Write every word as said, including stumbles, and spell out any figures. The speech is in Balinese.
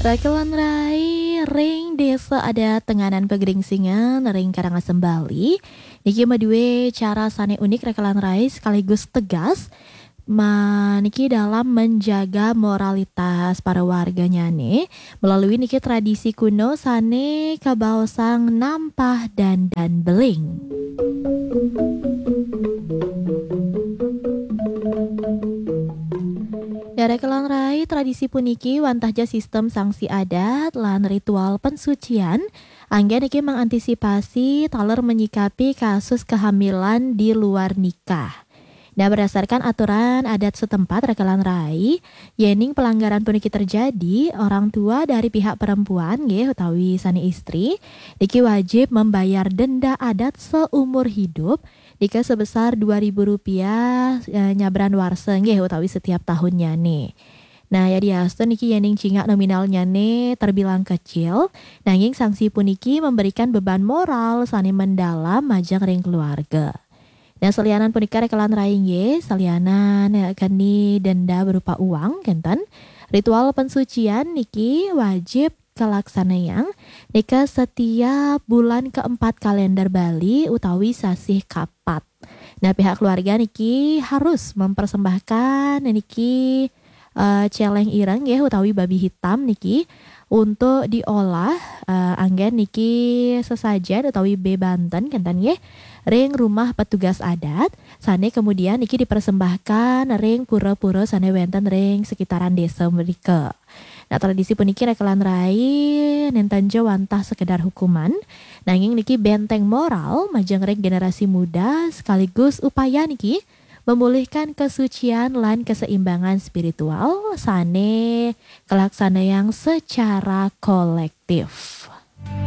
Rakelan rai ring Desa Adat Tenganan Pegringsingan ring Karangasem Bali. Niki madué cara sané unik rakelan rai sekaligus tegas. Ma-, niki dalam menjaga moralitas para warganyané melalui niki tradisi kuno sané kabaosang nampah dandan beling. Rakelan rai, tradisi puniki wantah ja sistem sanksi adat lan ritual pensucian, anggén niki mengantisipasi taler menyikapi kasus kehamilan di luar nikah. Nah, berdasarkan aturan adat setempat, rakelan rai, yéning pelanggaran puniki terjadi, orang tua dari pihak perempuan, nggih, utawi sané istri, niki wajib membayar denda adat seumur hidup, nika sebesar dua ribu rupiah, eh, nyabran warsa, nggih, utawi setiap tahunnyané. Nah, yadiastun niki yéning cingak nominalnyané terbilang kecil, nanging sanksi puniki memberikan beban moral sané mendalam majeng ring keluarga. Nah, salianan punika rakelan rai nggih, salianan, eh, keni denda berupa uang, kénten. Ritual pensucian niki wajib kalaksanayang nika setiap bulan keempat kalender Bali utawi sasih kapat. Nah, pihak keluarga niki harus mempersembahkan niki, eh, céléng ireng nggih utawi babi hitam niki untuk diolah, eh, anggén niki sesajen utawi bebanten kénten nggih ring rumah petugas adat sané kemudian niki dipersembahkan ring pura-pura sané wénten ring sekitaran desa mrika. Nah, tradisi puniki rakelan rai nénten ja wantah sekedar hukuman, nanging niki benteng moral majeng ring generasi muda sekaligus upaya niki memulihkan kesucian lan keseimbangan spiritual sané kalaksanayang secara kolektif.